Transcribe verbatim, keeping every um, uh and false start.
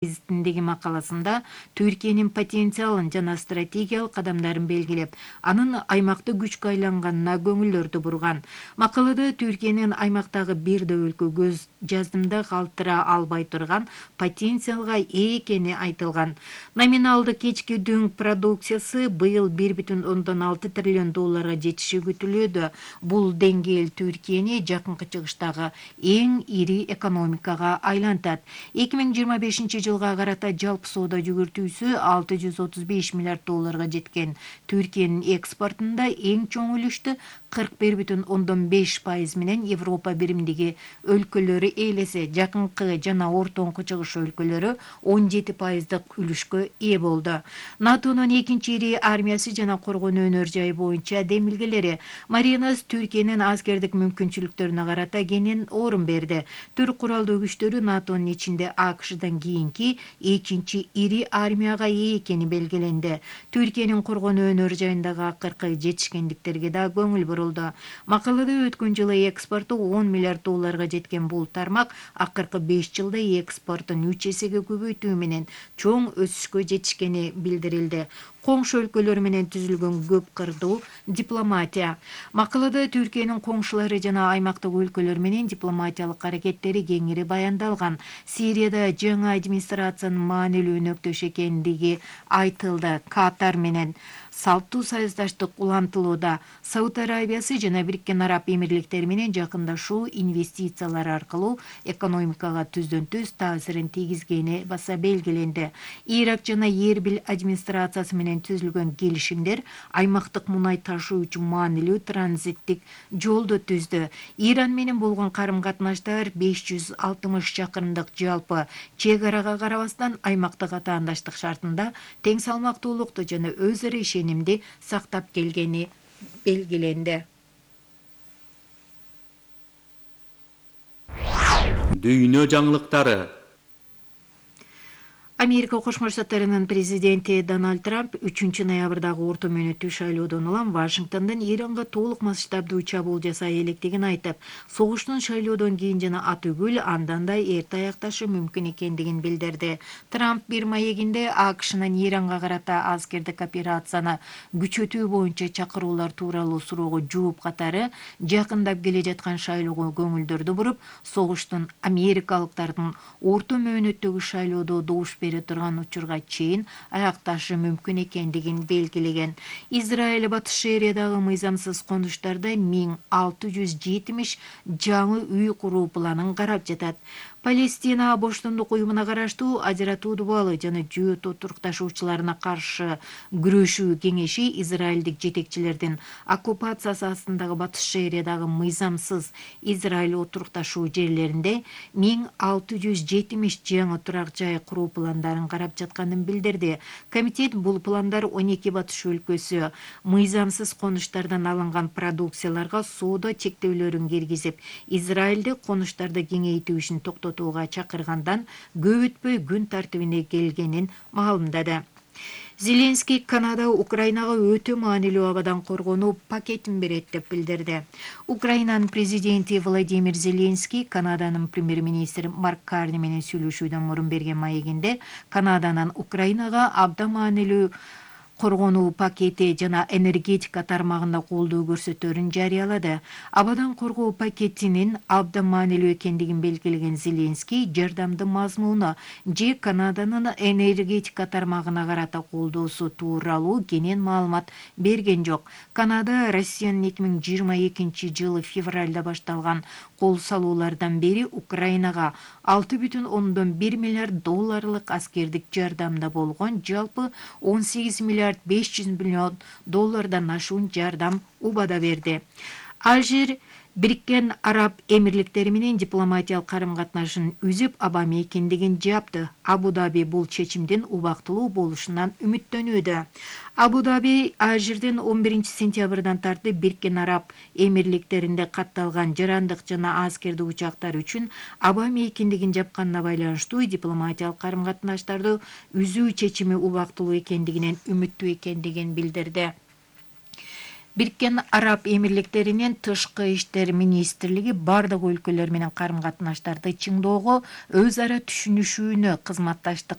гезитиндеги макаласында Түркиянын потенциалын жана стратегиялык кадамдарын белгилеп, анын аймакты күчкө айланганына көңүлдөрдү бурган. Макалада Түркиянын аймактагы бир да өлкө көз жаздымда калтыра албай турган потенциалга ээ экени айтылган. Номиналдык кечки дүң продукциясы быйыл бир бүтүн ондон алты триллион долларга жетиши күтүлүүдө. Бул деңгээл Түркияны жакынкы чыгыштагы эң ири экономикага айлантат. эки миң жыйырма бешинчи жылга карата жалпы соода жүгүртүүсү алты жүз отуз беш миллиард долларга жеткен. Түркиянын экспортунда эң чоң үлүштү кырк бир бүтүн ондон беш пайыз менен Европа биримдиги өлкөлөрү ээлесе, жакынкы жана ортоңку чыгыш өлкөлөрү он жети пайыздык үлүшкө ээ болду. НАТОнун экинчи ири армиясы жана коргонуу өнөр жайы боюнча демилгелери Маринас Түркиянын аскердик мүмкүнчүлүктөрүнө карата кенен орун берди. Түрк куралдуу күчтөрү НАТОнун ичинде АКШдан кийинки экинчи ири армияга ээ экени белгиленди. Түркиянын коргонуу өнөр жайындагы акыркы жетишкендиктерге да көңүл бурулду. Макалада өткөн жылы экспорту он миллиард долларга жеткен бул тармак акыркы беш жылда экспортун үч эсеге көбөйтүү менен чоң өсүшкө жетишкени билдирилди. Коңшу өлкөлөр менен түзүлгөн көп кырдуу дипломатия. Макалада Түркиянын коңшулары жана аймактык өлкөлөр менен дипломатиялык аракеттери кеңири баяндалган. Сирияда жаңы администрациянын маанилүү өнөктөш экендиги айтылды. Катар менен салттуу союздаштык улантылууда. Сауд Арабиясы жана Бириккен Араб Эмирликтери менен жакындашуу инвестициялар аркылуу экономикага түздөн-түз таасирин тийгизгени баса белгиленди. Ирак жана Эрбил администрациясы менен түзүлгөн келишимдер аймактык мунай ташуу үчүн маанилүү транзиттик жолду түздү. Иран менен болгон карым-катнаштар беш жүз алтымыш чакырымдык жалпы чек арага карабастан аймактык атаандаштык шартында тең салмактуулукту жана өз ара ишенимди сактап келгени белгиленди. Дүйнө жаңылыктары. Америка Кошмо Штаттарынын президенти Дональд Трамп үчүнчү ноябрдагы орто мөөнөттүү шайлоодон улам Вашингтондон Иранга толук масштабдуу чабуул жасай электигин айтып, согуштун шайлоодон кийин жана атүгүл андан да эрте аякташы мүмкүн экендигин билдирди. Трамп бир маегинде АКШнын Иранга карата аскердик операцияны күчөтүү боюнча чакыруулар тууралуу суроого жооп катары жакындап келе жаткан шайлоого көңүлдөрдү буруп, согуштун америкалыктардын орто мөөнөттөгү шайлоодо добуш бере турган учурга чейин аякташы мүмкүн экендигин белгилеген. Израиль Батыш Шериядагы мыйзамсыз конуштарда миң алты жүз жетимиш жаңы үй куруу планын карап жатат. Палестина боштондук уюмуна караштуу ажыратуу дубалы жана жөөт отурукташуучуларына каршы күрөшүү кеңеши израилдик жетекчилердин оккупациясы астындагы Батыш Шериядагы мыйзамсыз Израиль отурукташуу жерлеринде миң алты жүз жетимиш жаңы турак жай куруу пландарын карап жатканын билдирди. Комитет бул пландар он эки Батыш өлкөсү мыйзамсыз конуштардан алынган продукцияларга соода чектөөлөрүн киргизип, Израилде конуштарды кеңейтүү ишин токтотууга чакыргандан көп өтпөй күн тартибине келгенин маалымдады. Зеленский Канада Украинага өтө маанилүү абадан коргонуу пакетин берет деп билдирди. Украинанын президенти Владимир Зеленский Канаданын премьер-министри Марк Карни менен сүйлөшүүдөн мурун берген маегинде Канаданын Украинага абдан маанилүү коргонуу пакети жана энергетика тармагында колдоо көрсөтөөрүн жарыялады. Абадан коргоо пакетинин абдан маанилүү экендигин белгилеген Зеленский жардамдын мазмуну же Канаданын энергетика тармагына карата колдоосу тууралуу кенен маалымат берген жок. Канада Россиянын эки миң жыйырма экинчи жылы февралда башталган кол салуулардан бери Украинага алты бүтүн ондон бир миллиард долларлык аскердик жардамда болгон, жалпы он сегиз миллиард беш жүз миллион доллардан ашуун жардам убада берди. Алжир Бириккен Араб Эмирликтери менен дипломатиялык карым-катнашын үзүп, Обама экендигин жапты. Абу-Даби бул чечимдин убактылуу болушунан үмүттөнүүдө. Абу-Даби Алжирдин он биринчи сентябрдан тартып Бириккен Араб Эмирликтеринде катталган жарандык жана аскердик учактар үчүн Обама экендигин жапканына байланыштуу дипломатиялык карым-катнаштарды үзүү чечими убактылуу экендигинен үмүттүү экендигин билдирди. Бириккен Араб Эмирликтеринин тышкы иштер министрлиги бардык өлкөлөр менен карым-катнаштарды чыңоого, өз ара түшүнүшүүнө, кызматташтык